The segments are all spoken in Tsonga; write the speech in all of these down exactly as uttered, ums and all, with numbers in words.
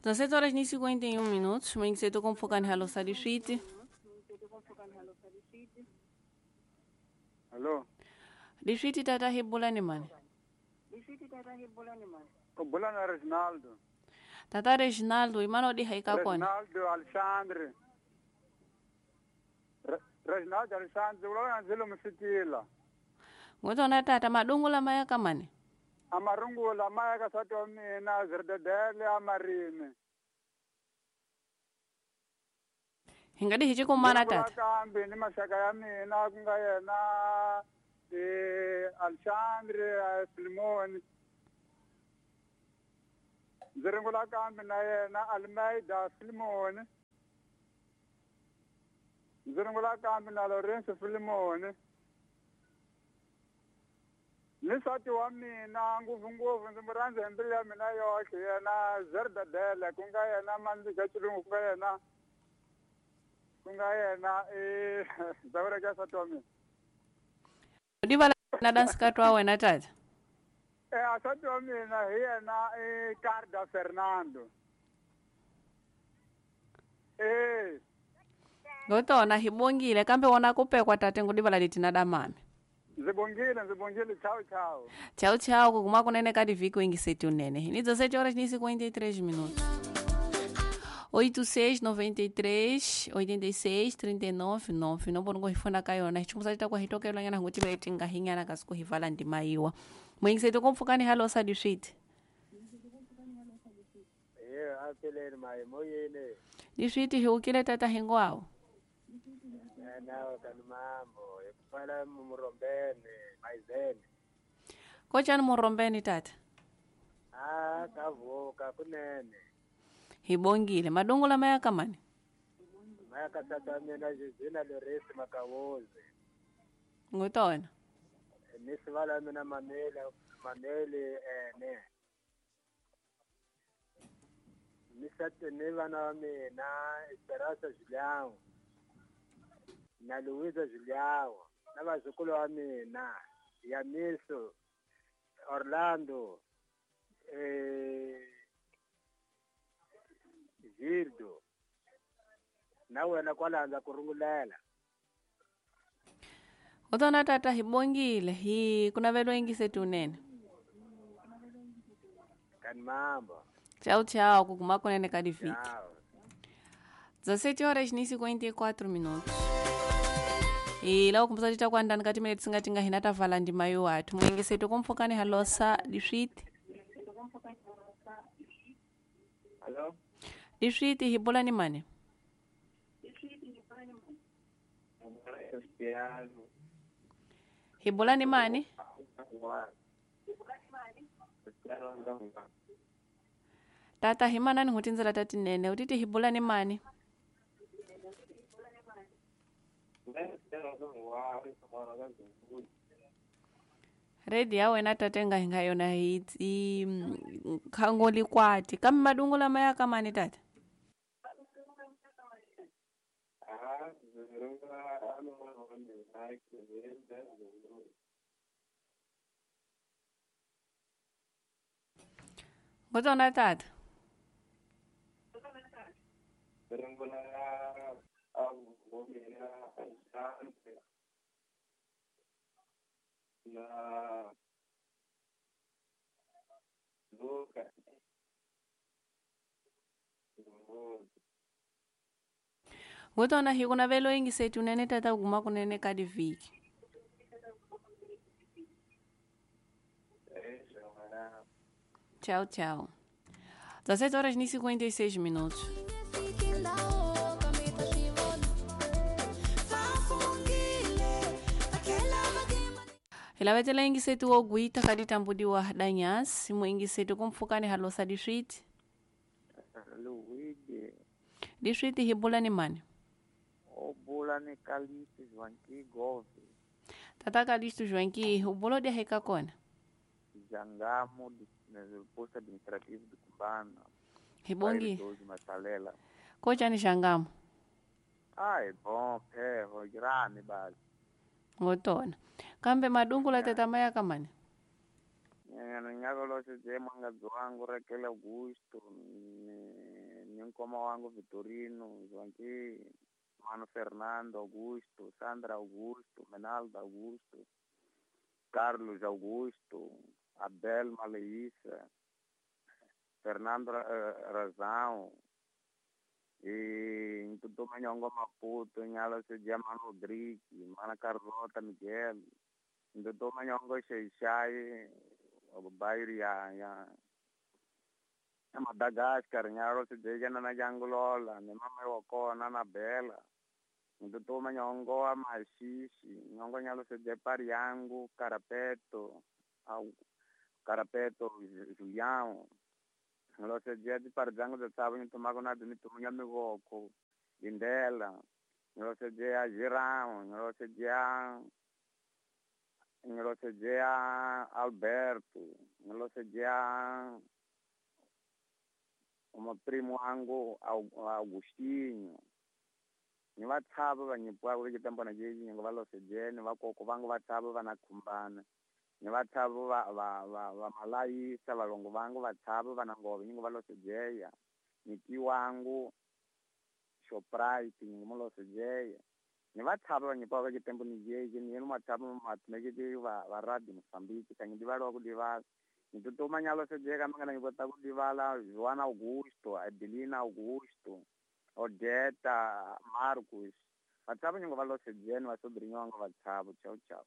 dezessete horas e cinquenta e um minutos, mwengisetu kumpfukani halo sadiswiti. Allo. Diswiti tata hibulani mani. Kubulana Reginaldo. Tata Reginaldo, imano di haika kona. Reginaldo Alexandre. Re Reginaldo Alexandre, ulo anzilo msitila. Ngotona tata madungula maya kamani. Amarungula maya kasato mina zirdedele amarime. Hingadi hichikumana tata. Kambi ni mashaka ya mina kunga yena eh Alexandre Filimoni. Ziringula kambi na yena Almeida Filimoni. Ziringula kambi na Lorenzo Filimoni. Ni nsati wa mina ngopfungopfu ndzi mu rhandza hi mbilu ya mina yoxe yena Zerdadele ku nga yena Mandlika Xilungu ku nga yena ku nga yena i Zawureka nsati wa mina. Divala na dansikati wa wena tata. Eh nsati wa mina hi yena i Carda Fernando. Eh Ngotona hi bongile kambe wona kupekwa tate ngudivala litina damame. Ndzi bongile, ndzi bongile, tchau, tchau. Tchau, tchau, kukuma kunene kadi viki wengiseti unene. Ni dezessete horas e cinquenta e três minutos. oito seis, noventa e três, oitenta e seis, trinta e nove, nove. Nomboro ngorifona kayona. Hichumusa chita kwa hitoke lwanyana nguti beti ngahinyana kasiku hivala ndimaiwa. Mwengiseti kumfukani halo sadiswiti. Eh, apeleni mai moyene. Diswiti hiukile tata hingwao. Nao kanumambo ekufala murombeni maizeni. Kochani murombeni tata? Ah, kavuka kunene. Hibongile madungula maya kamani. Maya katata mina jizina Loresi Makawozi. Ngutona. Nisivala mina mamele mamele ene. Nisate nivana mina Esperança Julião. Na Luísa Julião, na vazukulu wa mina, Yamiso, Orlando, eh, Gildo, na wena kwalanza kurungulela. Utona tata hibongile, hi kuna velo ingisetu unene. Kan mambo. Tchau, tchau, kukuma kunene kadi viki. dezessete horas e cinquenta e quatro minutos. E lá kumbusa tita kwa ndani kati mene tsinga tinga hinata vala ndima yo watu. Mwengisetu kumfukani halosa diswiti. Hello? Diswiti hibola ni mane? Hibola ni mane? Tata himana ni hutinzela tati nene. Utiti hibola ni mane? Redi ya wena tate nga hinga yona hiti khangoli kwati kambe madungula maya kamani tata. Ngotona tata. Na Luka. Ngotona hi kuna velo ingisetu unene tata kuma kunene kadi viki. Tchau, tchau. dezessete horas e cinquenta e seis minutos. Hilavetela ingisetu ogwita kadi tambudiwa danyasi mwingisetu kumfukani halosa diswiti. Luigi. Diswiti hibula ni mani? Obula ni Kalisto Joanqui Gove. Tata Kalisto Joanqui, ubulo de heka kona? Jangamo do posto administrativo do Cumbana. Hibongi. Kocha ni Jangamo? Ah, é bom, perro, grande base. Ngotona. Kambe madungula tata maya kamani? Nyaka lo se je manga dzwangu Raquel Augusto ni ni nkoma wangu Vitorino, Joaquim, Mano Fernando Augusto, Sandra Augusto, Menaldo Augusto, Carlos Augusto, Abel Maleissa, Fernando eh, Razão, e Ntutuma Nyongo Maputo, Nyalo Sedia Mano Rodrigues, Mana Carlota Miguel, Ntutuma Nyongo Xeixai, bairro ya ya ya Madagascar, Nyalo Sedia Nana Jangulola, ni mama wa kona na Bela, Ntutuma Nyongo wa Mashishi, Nyongo Nyalo Sedia Pariangu, Carapeto, au Carapeto Julião, Ngilosedia tipari dzangu dza tsavo ngitumako nadzo nitumunya mivoko Lindela, ngilosedia Girão, ngilosedia ngilosedia Alberto, ngilosedia umaprimo wangu Au- Augustinho. Ni vatsavo va nyipiwaka va xitambwana lexi ni nga va losedia ni vakoko vangu vatsavo va na khumbana ni vatsavo va va va va malayisa valongo vangu vatsavo va na ngove ni nga va losejeya nyiki wangu Shoprite ni nga mu losejeya ni vatsavo va nyipiwaka xitembo ni jeki ni yenu matsavo matimeketi va va radio Mozambique kanyi divaliwa ku divala ni tutuma nyalosejeka mangana ni kota ku divala Joana Augusto, Adelina Augusto, Odeta Marcos, vatsavo ni nga va losejeni vasobrinyo vangu vatsavo. Tchau, tchau.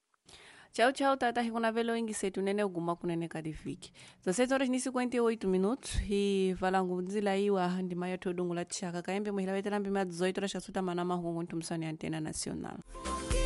Tchau, tchau, tata. Hikunavelo ingisetu nene uguma kunene kadiviki. dezessete horas e cinquenta e oito minutos e valangu nzila iwa ndima yote udungula tshaka kaembe muhilavetela mbima dezoito horas kasuta mana mahungu ntumsani antena nacional.